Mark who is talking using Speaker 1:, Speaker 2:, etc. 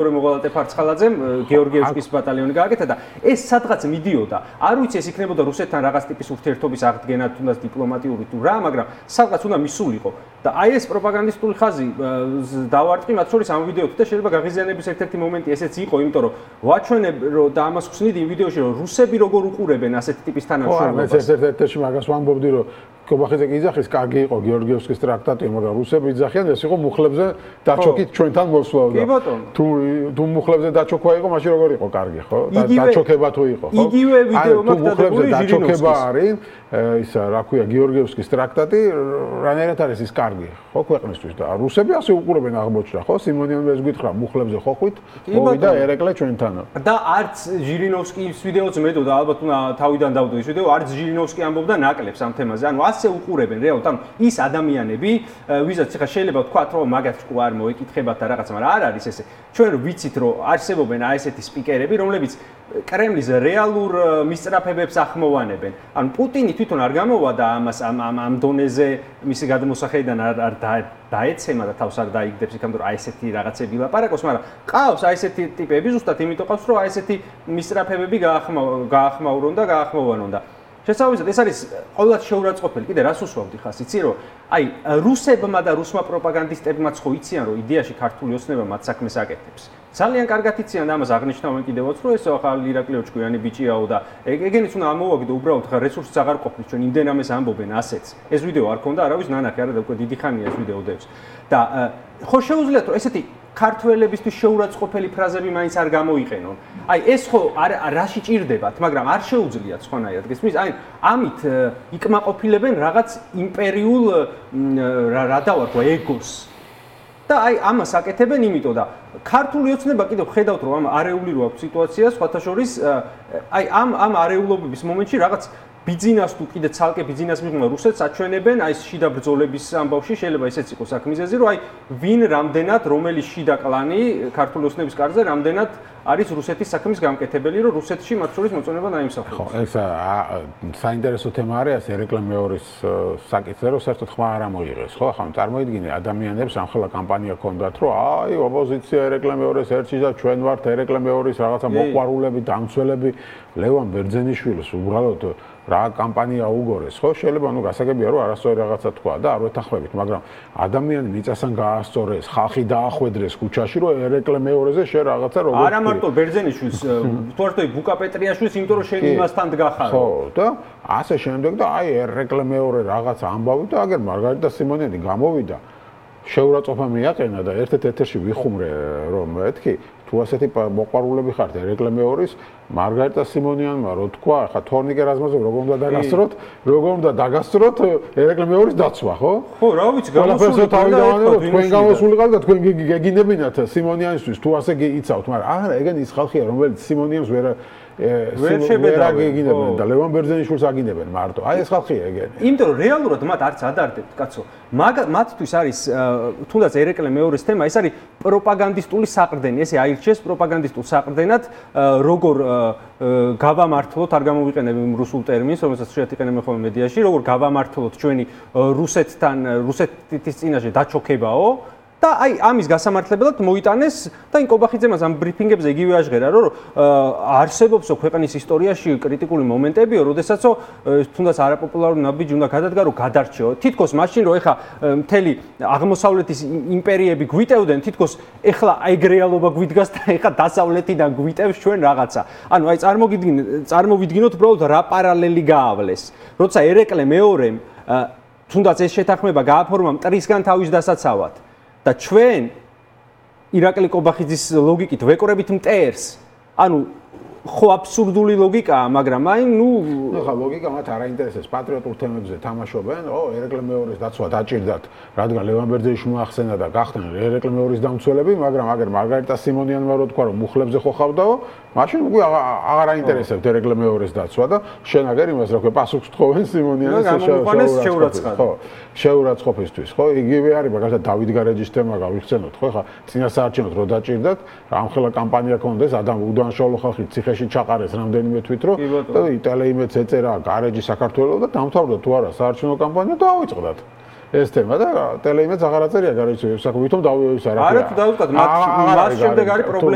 Speaker 1: მოღალატე ფარცხალაძემ გეორგიევსკის ბატალიონი გააკეთა და ეს სადღაც მიდიოდა. არ ვიცი ეს იქნებოდა რუსეთთან რაღაც ტიპის ურთიერთობის აღდგენა თუნდაც დიპლომატიური თუ რა, მაგრამ სადღაც უნდა მისულიყო. და აი ეს პროპაგანდისტული ხაზი დავარტყი მათ შორის ამ ვიდეოთი და შეიძლება გაღიზიანების ერთ-ერთი მომენტი ესეც იყო, იმიტომ რომ ვაჩვენებ და ამას ხსნით იმ ვიდეოში რომ რუსები როგორ უყურებენ ასეთი ტიპის თანამშრომლობას.
Speaker 2: ეს ერთ-ერთი მაგას ვამბობდი რომ კობახიძე კი იძახის, კარგი იყო გეორგიევსკის ტრაქტატი, მაგრამ რუსები იძახიან, ეს იყო მუხლებზე დაჩოქით ჩვენთან მოსვლა.
Speaker 1: კი ბატონო.
Speaker 2: თუ მუხლებზე დაჩოქვა იყო, მაშინ როგორ იყო კარგი, ხო? დაჩოქება თუ იყო, ხო?
Speaker 1: იგივე ვიდეო მაქვს
Speaker 2: მუხლებზე დაჩოქება არის, ისა რა ქვია გეორგიევსკის ტრაქტატი, რანაირად არის ის კარგი, ხო, ქვეყნისთვის და რუსები ასე უყურებენ აღმოჩნდა, ხო? სიმონიანმა ეს გითხრა, მუხლებზე ხოხვით, მოვიდა ერეკლე ჩვენთანო.
Speaker 1: და არც ჟირინოვსკის ვიდეოც მეტოდა, ალბათ უნდა თავიდან დავდო ის ვიდეო, არც ჟირინოვსკი ამბობდა ნაკლებს ამ თემაზე. ანუ ასე უყურებენ რეალურად, ანუ ის ადამიანები, ვისაც ხა შეიძლება ვთქვათ, რომ მაგათ ჭკუ არ მოეკითხებათ და რაღაც, მაგრამ არ არის ესე. ჩვენ ვიცით, რომ არსებობენ აი ესეთი სპიკერები, რომლებიც კრემლის რეალურ მისწრაფებებს ახმოვანებენ. ანუ პუტინი თვითონ არ გამოვადა ამას ამ დონეზე მისი გადმოსახედიდან არ დაეცემა და თავს არ დაიგდებს იქამდე რომ აი ესეთი რაღაცები ლაპარაკობს, მაგრამ ყავს აი ესეთი ტიპები ზუსტად იმიტომ ყავს, რომ აი ესეთი მისწრაფებები გაახმაურონ და გაახმოვანონ და შესაბამისად ეს არის ყოველად შეურაცხყოფელი. კიდე რას უსვამდი ხას, იცი რომ აი რუსებმა და რუსმა პროპაგანდისტებმაც ხო იციან რომ იდეაში ქართული ოცნება მათ საქმეს აკეთებს. ძალიან კარგად იციან და ამას აღნიშნავენ კიდევაც რომ ეს ახალი ირაკლი ოჭკვიანი ბიჭიაო და ეგენიც უნდა ამოვაგდო უბრალოდ ხა რესურსს აღარ ყოფნის ჩვენ იმდენ ამას ამბობენ ასეც. ეს ვიდეო არ ქონდა არავის ნანახი არა და უკვე დიდი ხანია ეს ვიდეო დევს. და ხო შეუძლიათ რომ ესეთი ქართველებისთვის შეურაცხყოფელი ფრაზები მაინც არ გამოიყენონ. აი ეს ხო რაში ჭირდებათ, მაგრამ არ შეუძლიათ სხვანაირად გესმის? აი ამით იკმაყოფილებენ რაღაც იმპერიულ რა დავარქვა ეგოს. და აი ამას აკეთებენ იმიტომ და ქართული ოცნება კიდევ ხედავთ რომ ამ არეული რო აქვს სიტუაცია სხვათა შორის აი ამ არეულობების მომენტში რაღაც ბიზნეს თუ კიდე ცალკე ბიზნეს მიღმა რუსეთს აჩვენებენ აი ეს შიდა ბრძოლების ამბავში შეიძლება ესეც იყოს საქმიზეზი რომ აი ვინ რამდენად რომელი შიდა კლანი ქართული ოცნების კარზე რამდენად არის რუსეთის საქმის გამკეთებელი რომ რუსეთში მათ შორის მოწონება დაიმსახუროს.
Speaker 2: ხო, ეს საინტერესო თემა არის ერეკლე მეორის საკითხზე რომ საერთოდ ხმა არ ამოიღეს, ხო? ახლა წარმოიდგინე ადამიანებს ამხელა კამპანია ქონდათ რომ აი ოპოზიცია ერეკლე მეორის ერთში და ჩვენ ვართ ერეკლე მეორის რაღაცა მოყვარულები, დამცველები, ლევან ბერძენიშვილს უბრალოდ რა კამპანია უგორეს, ხო? შეიძლება ნუ გასაგებია რომ არასწორი რაღაცა თქვა და არ ვეთანხმებით, მაგრამ ადამიანი მიწასთან გაასწორეს, ხალხი დაახვედრეს ქუჩაში, რომ ერეკლე მეორეზე შე რაღაცა როგორ
Speaker 1: არა მარტო ბერძენიშვილს, თორე ბუკა პეტრიაშვილს, იმიტომ რომ შენ იმასთან დგახარო.
Speaker 2: ხო, და ასე შემდეგ და აი ერეკლე მეორე რაღაცა ამბავი და აგერ მარგარიტა სიმონიანი გამოვიდა. შეურაცხყოფა მიაყენა და ერთ-ერთ ეთერში ვიხუმრე რომ მეთქი თუ ასეთი მოყვარულები ხართ ერეკლე მეორის მარგარიტა სიმონიანმა რო თქვა ხა თორნიკე რაზმაზოვ როგორ უნდა დაგასწროთ ერეკლე მეორის დაცვა ხო?
Speaker 1: ხო რა ვიცი გამოსული
Speaker 2: თქვენ გამოსულიყავთ და თქვენ გეგინებინათ სიმონიანისთვის თუ ასე იცავთ მაგრამ არა ეგენ ის ხალხია რომელიც სიმონიანს ვერ შეგინებენ და ლევან ბერძენიშვილს აგინებენ მარტო აი ეს ხალხია ეგენი.
Speaker 1: იმიტომ რომ რეალურად მათ არც ადარდებთ კაცო. მათთვის არის თუნდაც ერეკლე მეორის თემა ეს არის პროპაგანდისტული საყრდენი ესე აირჩიეს პროპაგანდისტულ საყრდენად როგორ გავამართლოთ არ გამოვიყენებ იმ რუსულ ტერმინს რომელსაც შეიძლება იყენებენ ხოლმე მედიაში როგორ გავამართლოთ ჩვენი რუსეთის წინაშე დაჩოქებაო და აი ამის გასამართლებლად მოიტანეს და ინკობახიძემაც ამ ბრიფინგებზე იგივე აჟღერა რომ არსებობსო ქვეყნის ისტორიაში კრიტიკული მომენტებიო როდესაცო თუნდაც არაპოპულარული ნაბიჯი უნდა გადადგა რომ გადარჩეო თითქოს მაშინ რომ ეხა მთელი აღმოსავლეთის იმპერიები გვიტევდნენ თითქოს ეხლა ეგ რეალობა გვიდგას და ეხა დასავლეთიდან გვიტევს ჩვენ რაღაცა ანუ აი წარმოვიდგინოთ უბრალოდ რა პარალელი გაავლეს როცა ერეკლე მეორემ თუნდაც ეს შეთანხმება გააფორმა მტრისგან თავის დასაცავად და ჩვენ ირაკლი კობახიძის ლოგიკით ვეკორებით მტერს. ანუ ხო აბსურდული ლოგიკაა, მაგრამ აი ნუ
Speaker 2: ხა ლოგიკა მათ არ აინტერესებს პატრიოტულ თემებზე თამაშობენ. ერეკლე მეორის დაცვა დაჭირდათ, რადგან ლევან ბერძენიშვილმა ახსენა და გახდნენ ერეკლე მეორის დამცველები, მაგრამ აგერ მარგარიტა სიმონიანმა რო თქვა რომ მუხლებზე ხო ხავდაო, მაშინ უკვე აღარ აინტერესებთ ერეკლე მეორის დაცვა და შენ აგერ იმას რა ქვია პასუხს თხოვენ სიმონიანის
Speaker 1: შეურაცხყოფა.
Speaker 2: ხო, შეურაცხყოფისთვის, ხო? იგივე არის მაგალითად დავით გარეჯის თემა გავიხსენოთ, ხო? ხა წინასაარჩევნოდ რო დაჭირდათ, ამხელა კამპანია ქონდეს, უდანაშაულო ხალხი ციხეში ჩაყარეს რამდენიმე თვით რო და იტალეიმეც ეწერა გარეჯი საქართველოს და დამთავრდა თუ არა საარჩევნო კამპანია და ავიწყდათ. ეს თემა და ტელეიმედს აღარ აწერია გარეთ, საკუთომ დავიოს არა.
Speaker 1: არა თუ დავუწყოთ, მათ შემდეგ არის პრობლემა